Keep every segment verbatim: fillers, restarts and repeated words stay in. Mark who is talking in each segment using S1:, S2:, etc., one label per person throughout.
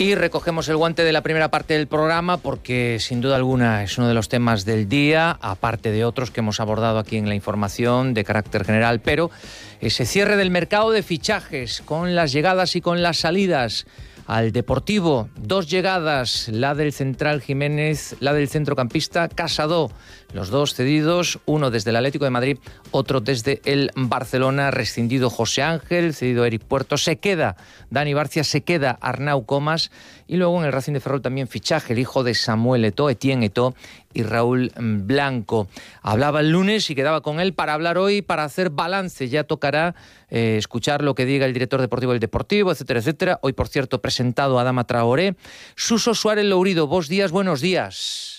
S1: Y recogemos el guante de la primera parte del programa porque sin duda alguna es uno de los temas del día, aparte de otros que hemos abordado aquí en la información de carácter general, pero ese cierre del mercado de fichajes con las llegadas y con las salidas al Deportivo. Dos llegadas, la del central Jiménez, la del centrocampista Casado. Los dos cedidos, uno desde el Atlético de Madrid, otro desde el Barcelona. Rescindido José Ángel, cedido Eric Puerto. Se queda Dani Barcia, se queda Arnau Comas. Y luego en el Racing de Ferrol también fichaje, el hijo de Samuel Eto'o, Etienne Eto'o y Raúl Blanco. Hablaba el lunes y quedaba con él para hablar hoy, para hacer balance. Ya tocará eh, escuchar lo que diga el director deportivo del Deportivo, etcétera, etcétera. Hoy, por cierto, presentado a Adama Traoré. Suso Suárez Lourido, vos días, buenos días.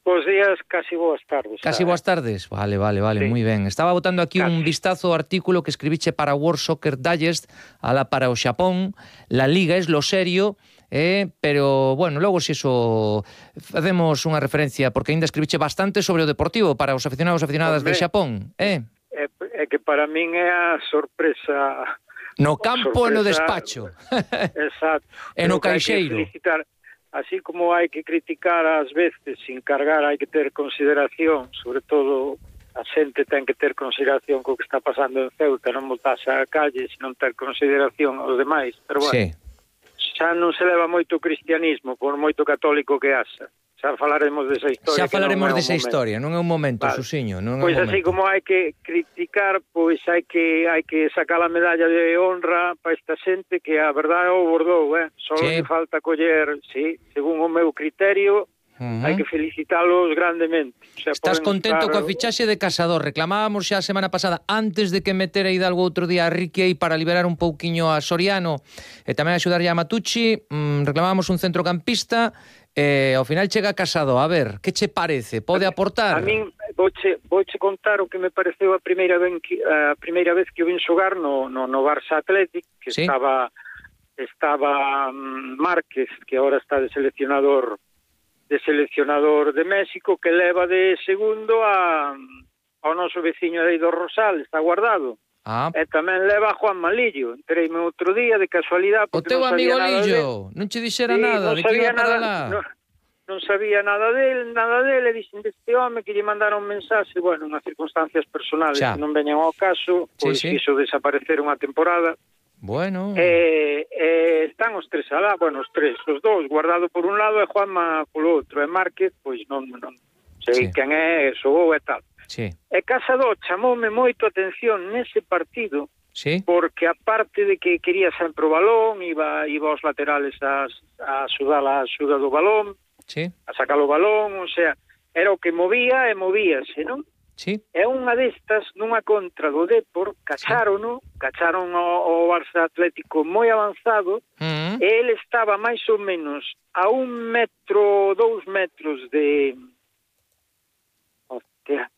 S2: Bos días, casi boas tardes.
S1: Casi boas tardes. Vale, vale, vale, sí. Muy ben. Estaba botando aquí casi un vistazo ao artículo que escribiche para World Soccer Digest, ala para o Xapón. La Liga es lo serio, eh, pero, bueno, logo se iso facemos unha referencia, porque ainda escribiche bastante sobre o Deportivo para os aficionados e aficionadas de Xapón, eh?
S2: É, é que para min é a sorpresa...
S1: No campo e no despacho.
S2: Exacto.
S1: E no caixeiro.
S2: Así como hai que criticar ás veces, sin cargar, hai que ter consideración, sobre todo a xente ten que ter consideración co que está pasando en Ceuta, non botarse á calle, senón ter consideración aos demais, pero bueno, sí. Xa non se leva moito cristianismo, por moito católico que haxa. Xa falaremos desa historia.
S1: Xa falaremos desa historia, non é un momento, vale. Susiño, non é
S2: pois
S1: un momento.
S2: Así como hai que criticar, pois hai que hai que sacar a medalla de honra para esta xente que a verdade o bordou, eh? Só sí. Que falta coller, sí, según o meu criterio, uh-huh. Hai que felicitalos grandemente. O sea,
S1: estás contento estar... coa fichaxe de Casado? Reclamábamos xa a semana pasada, antes de que metera Hidalgo outro día a Riquei para liberar un pouquiño a Soriano e tamén axudarlle a Matucci, mmm, reclamábamos un centrocampista. Eh, ao final chega Casado, a ver, que che parece? Pode aportar?
S2: A min vouche, vouche contar o que me pareceu a primeira vez que, a primeira vez que o vin xogar no, no, no Barça Athletic, que ¿sí? estaba estaba um, Márquez, que agora está de seleccionador de seleccionador de México, que leva de segundo a ao noso veciño aí do Rosal, está guardado. Ah. E tamén leva a Juan Malillo. Entreime outro día de casualidade.
S1: O teu
S2: non
S1: amigo
S2: Lillo
S1: non che dixera
S2: sí,
S1: nada,
S2: non
S1: de que iba para
S2: nada,
S1: lá.
S2: Non, non sabía nada del, nada del, e dixen deste home que lle mandaron mensaxe, bueno, unhas circunstancias personales xa. Que non veñan ao caso, pois sí, sí. Quiso desaparecer unha temporada.
S1: Bueno.
S2: E, e están os tres alá, bueno, os tres, os dous, Guardado por un lado e Juanma polo outro, e Márquez, pois non, non sei sí. Quen é, xogou e tal.
S1: Sí.
S2: E Casado chamoume moito a atención nese partido,
S1: sí.
S2: Porque aparte de que quería sempre o balón, iba, iba aos laterales a, a sudar a xuda do balón,
S1: sí.
S2: A sacar o balón, o sea, era o que movía e movíase, non?
S1: Sí.
S2: E unha destas, nunha contra do Depor, cacharono, sí. Cacharon o, o Barça Atlético moi avanzado, uh-huh. E ele estaba máis ou menos a un metro, dous metros de... Hostia...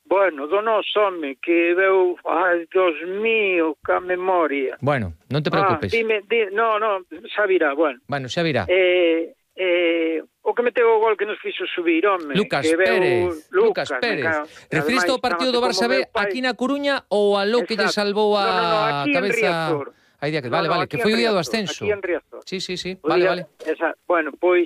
S2: Bueno, do noso home, que veu, ai, Dios mío, ca memoria.
S1: Bueno, non te preocupes.
S2: Ah, dime, di, no, no, xa virá, bueno.
S1: Bueno, xa virá.
S2: Eh, eh, o que meteu o gol que nos fixo subir, home.
S1: Lucas
S2: que veu,
S1: Pérez. Lucas, Lucas Pérez. Referiste ao partido do Barça B aquí na Coruña ou a lo que lle salvou a
S2: no, no, no, aquí
S1: cabeza...
S2: En Riazor.
S1: Aí día que,
S2: no,
S1: vale,
S2: no,
S1: vale, que foi o día do ascenso.
S2: Aquí en Riazor.
S1: Sí, sí, sí,
S2: O
S1: vale,
S2: día,
S1: vale.
S2: Esa, bueno, pois